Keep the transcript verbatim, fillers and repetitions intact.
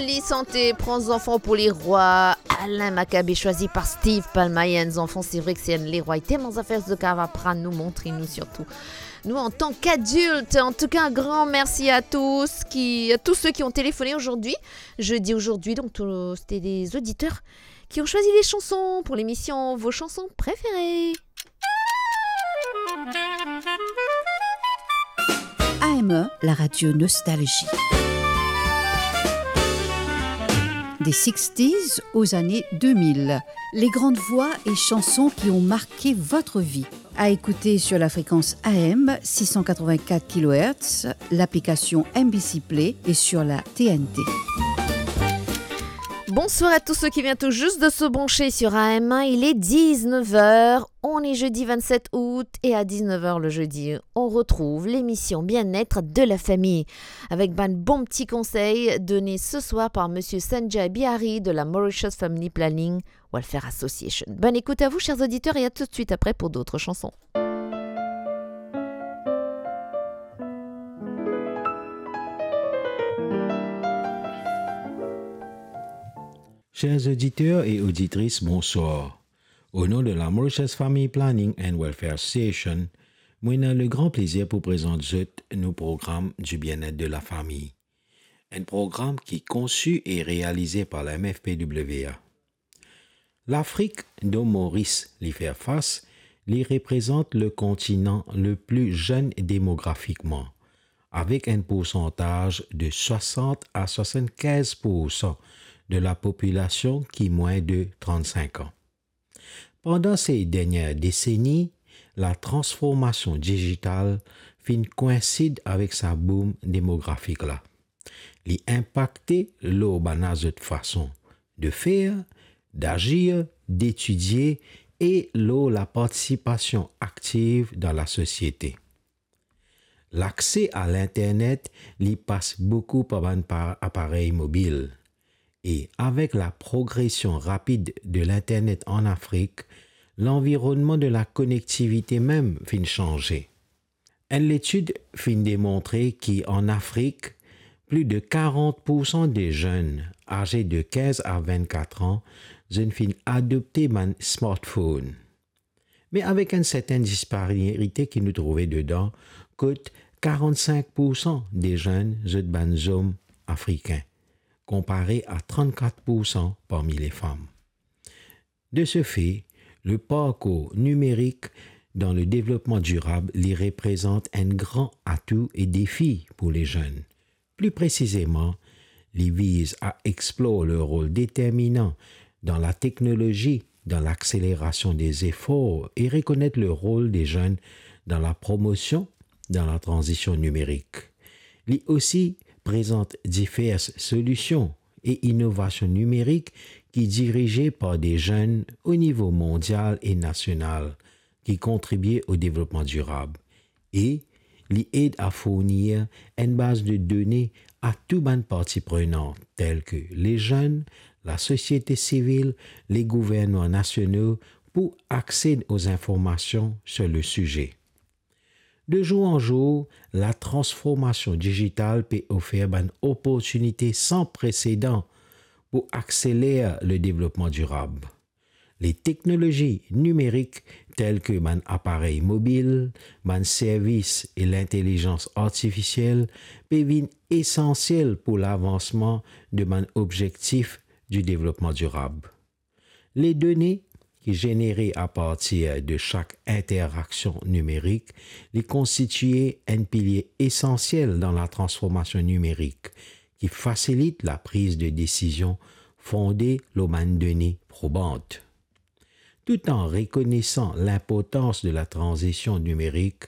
Li sante Pran zanfan pou lerwa, Alain Maccabée, choisi par Steve Palmayen. Zanfan, se vre ki se enn lerwa, li telman zafer zot kapav aprann nou, montre nou sirtou. Nou, an tan kadilt, en tout cas, un grand merci à tous qui, à tous ceux qui ont téléphoné aujourd'hui. Je dis aujourd'hui, donc, tout, c'était des auditeurs qui ont choisi les chansons pour l'émission Vos chansons préférées. A M E, la radio nostalgie. Des sixties aux années deux mille, les grandes voix et chansons qui ont marqué votre vie. À écouter sur la fréquence A M six cent quatre-vingt-quatre kilohertz, l'application M B C Play et sur la T N T. Bonsoir à tous ceux qui viennent tout juste de se brancher sur A M un. Il est dix-neuf heures. On est jeudi vingt-sept août et à dix-neuf heures le jeudi, on retrouve l'émission Bien-être de la famille avec bann bon ti konsey donné ce soir par monsieur Sanjay Bihari de la Mauritius Family Planning Welfare Association. Bonne écoute à vous, chers auditeurs, et à tout de suite après pour d'autres chansons. Chers auditeurs et auditrices, bonsoir. Au nom de la Mauritius Family Planning and Welfare Association, mo ena le gran plezir pou prezant zot nou program du bien-être de la famille. Enn program ki konsi e realize par la M F P W A. Lafrik, dont Moris li fer fas, li reprezant le kontinan le pli zenn demografikman, avek enn poursantaz de swasant a swasann-kinz poursan de la popilasion ki mwin de trant-sink an. Pandan se dernie deseni, la transformasion dizital finn koinsid avek sa boom demografik la. Li inpakte lor bann-la zot fason de fer, dazir, detidie e lor la partisipasion aktiv dan lasosiete. Lakse a linternet, li pas boukou par bann pa-, aparey mobil. E avek la progresion rapid de linternet an Afrik, lanvironnman de la konektivite mem finn sanze. Enn letid finn demontre ki an Afrik, pli de karant poursan de zenn aze de kinz a vennkat an, zot finn adopte bann smartphone. Me avek enn sertenn disparite ki nou trouve dedan, kot karant-sink poursan de zenn zot bann zom afrikin, konpare a trant-kat poursan parmi lefam. De ce fait, le parkour nimerik dan le devlopman dirab li reprezant enn gran atou e defi pou lezenn. Pli presizeman, li viz a explor le rol determinan dan la teknolozi dan lakselerasion de zefor e rekonet le rol de zenn dan la promosion dan la tranzision nimerik. Li osi prezant divers solision e inovasion nimerik ki dirize par de zenn o nivo mondial e nasional ki kontribie o devlopman dirab e li ed a fournir enn baz de done a tou bann parti prenan, tel ke lezenn, lasosiete sivil, le gouvernman nasional, pou aksed o zinformasion sir le size. De zour an zour, la transformasion dizital pe ofer bann oportinite san presedan pou akseler le devlopman dirab. Le teknolozi nimerik, tel ke bann aparey mobil, bann servis e lintelizans artifisiel, pe vinn esansiel pou lavansman de bann obzektif di devlopman dirab. Le done ki zenere apartir de sak interaksion nimerik, li konstitie enn pilie esansiel dan la transformasion nimerik, ki fasilit la priz de desizion fonde lor bann done proban. Tout an rekonesan linportans de la tranzision nimerik,